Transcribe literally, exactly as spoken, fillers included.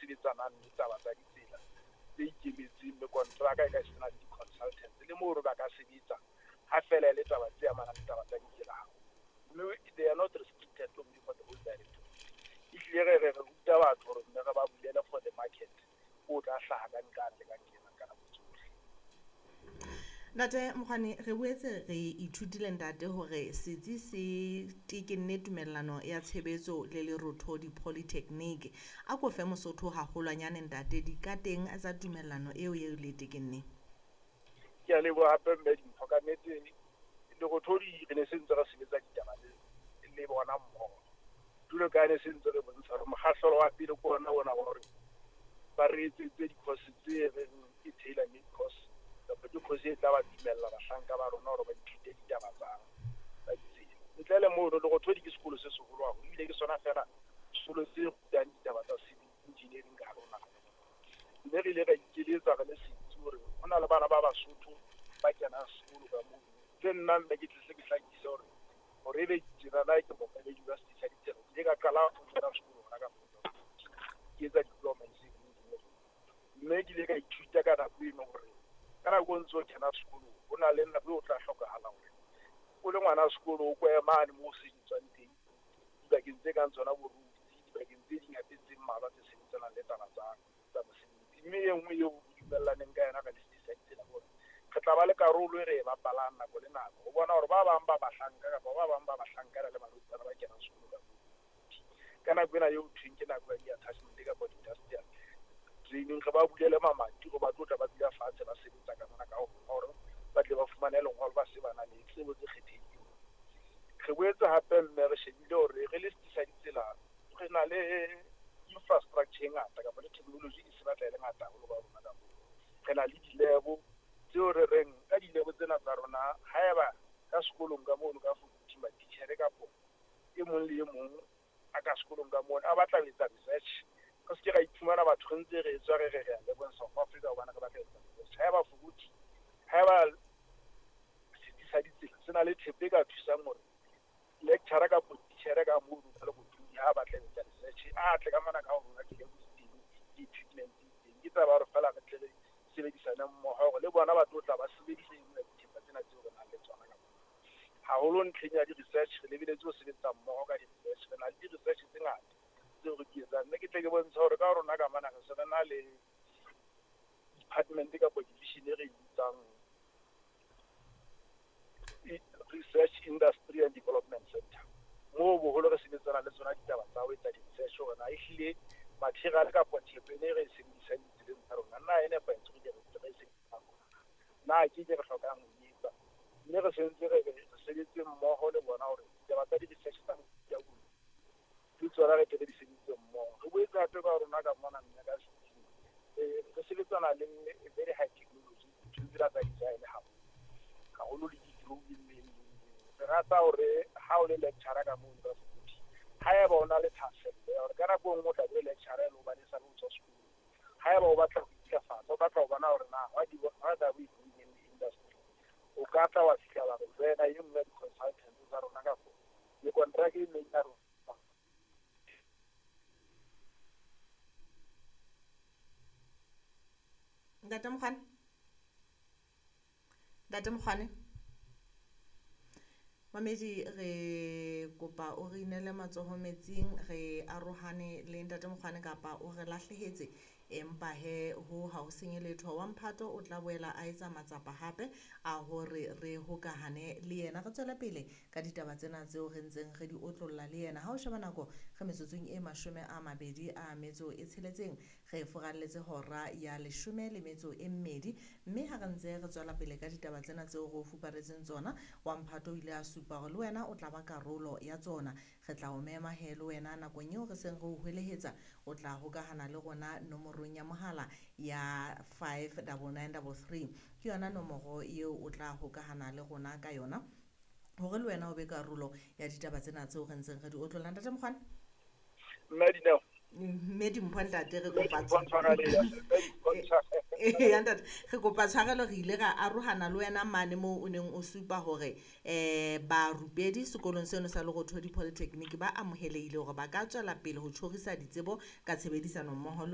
sebetsanang le taba tsa ditsela tse ikemetseng, mme kontraka e ka sena le di-consultants le moo re ba ka sebetsa ha fela e le taba tse amanang le taba tsa ditsela haholo. Mme they are not restricted only for the whole directorate. Ehlile re re re ruta batho hore mme re ba bulele for the market o tla hlaha ka nqane le ka nqena ka nako tsohle. Ntate Mokgwane, re boetse re ithutile ntate hore setsi se tekenne tumellano ya tshebetso le Lerothodi Polytechnic. A ko fe Mosotho haholwanyane ntate dikateng tsa tumellano eo eo le tekenneng. Ke a leboha hape mme Dimpho. Ka nnete Lerothodi re ne se ntse re sebetsa ditaba le le bona mmoho. Jwalo ka ha ne se ntse re bontsha hore mokgahlelo wa pele ke ona ona wa hore ba re etsetse di-course tse reng ke tailor made course, kapa ke course e tla ba dumella bahlanka ba rona hore ba ithute ditaba tsa tsa ditsela. Ntle le mono, Lerothodi ke sekolo se seholo haholo, ebile ke sona feela sekolo se rutang ditaba tsa civil engineering ka hare ho naha. Mme re ile ra ikeletsa re le setsi hore ho na le bana ba Basotho ba kenang sekolo ka mono. Tse nna mme ke tle ke hlakise hore hore ebe tjenana ke mookamedi wa setsi sa ditsela, ke ile ka qala ho kena sekolo hona ka ke etsa diploma in civil engineering. Mme ke ile ka ithuta ka nako eno hore ka nako o ntso kena sekolo ho na le nako eo o tla hlokahala hore o le ngwana sekolo o ko mane moo o sebetswang teng, dibakeng tse kang tsona bo roads, dibakeng tse ding hape tse mmalwa tse sebetsanang le taba tsa tsa mosebetsi. Mme e nngwe eo re dumellaneng ka yona ka le setsi sa ditsela hore re tla ba le karolo e re e bapalang nako le nako ho bona hore ba bang ba bahlanka kapa ba bang ba bahlankana le barwetsana ba kenang sekolo ka moo. Ka nako ena eo thweng ke nako ya di-attachment kapa di-industrial training, re ba bulele mamati hore ba tlo tla ba dula fatshe ba sebetsa ka mona ka ho hore ba tle ba fumane lengolo ba se ba na le tsebo tse kgethehileng. Re boetse hape mme re shebile hore re le setsi sa ditsela re na le infrastructure e ngata kapa le technology e se batla e le ngata haholo ba rona ka moo. Re na le di-lab tseo re reng ka di-lab tsena tsa rona, haeba ka sekolong ka mono ka faculty matitjhere kapo e mong le e mong a ka sekolong ka mono a batla ho etsa research, re se ke ra iphumana batho re ntse re tswa re re re ya lebong South Africa hobane re batla ho etsa research. Haeba faculty, haeba setsi sa ditsela se na le thepa e ka thusang hore lecturer kapo titjhere ka mono ka Lerothodi ha batla ho etsa research, a tle ka mona ka ho rona di-lab di teng, di-equipment di teng. Ke taba ya hore feela re tle re sebedisane mmoho hore le bona ba tlo tla ba sebedise e nngwe ya dithepa tsena tseo re nang le tsona ka mona. Haholo ntlheng ya di-research, re lebeletse ho sebetsa mmoho ka di-research. Re na le di-research tse ngata tseo re di etsang. Mme ke tle ke bontshe hore ka rona ka mona re se re na le department kapa division e re e bitsang Research Industry and Development Center. Moo boholo re sebetsana le tsona ditaba tsa ho etsa di-research hore na ehlile material kapa thepa ena e re e sebedisang ditseleng tsa rona na e nepahetse hore re e sebedisang, na ke ke re hlokang ho e etsa. Mme re sentse re re sebetse mmoho le bona hore ditaba tsa di-research tsa mofuta ono le tsona re tle re di sebedise mmoho. Re boetse hape ka rona ka mona mme ka setsing re sebetsana le very high technology, ntho tsena tsa design haholo haholo le di-drawing le eng. Re rata hore ha o le lecturer ka mono ka faculty, haeba o na le thahasello ya hore ka nako e nngwe o tla be o le lecturer e le hobane e sale o tswa sekolong, haeba o batla ho intlafatsa, o batla ho bona hore na what what are we doing in the industry, o ka tla wa fihla wa re joina e nngwe ya di-consultants tsa rona kapo mekontraka e meng ya rona. Ntate Mokgwane, Ntate Mokgwane, mamedi re kopa o re inele matsoho metsing, re arohane le Ntate Mokgwane kapa o re lahlehetse, empa he ho ha o senye letho. Wa mphato o tla boela a etsa matsapa hape a hore re hokahane le yena, re tswele pele ka ditaba tsena tseo re ntseng re di otlolla le yena. Ha o sheba nako re metsotsong e mashome a mabedi a metso e tsheletseng, re furalletse hora ya leshome le metso e mmedi, mme ha re ntse re tswela pele ka ditaba tsena tseo re o fuparetseng tsona, wa mphato o ile a supa hore le wena o tla ba karolo ya tsona. Re tla o mema he le wena nakong eo re seng re o hwelehetsa, o tla hokahana le rona nomorong ya mohala ya five double nine double three, ke yona nomoro eo o tla hokahana le rona ka yona hore le wena o be karolo ya ditaba tsena tseo re ntseng re di otlolla. Ntate Mokgwane, Mme Dineo, mme Dimpho ntate re kopa Mme Dimpho ntshwarele, mme Dimpho ntshwarele. ya ntate re kopa tshwarelo, re ile ra arohana le wena mane moo o neng o supa hore eh barupedi sekolong seno sa Lerothodi Polytechnic ba amohelehile hore ba ka tswela pele ho tjhorisa ditsebo ka tshebedisano mmoho le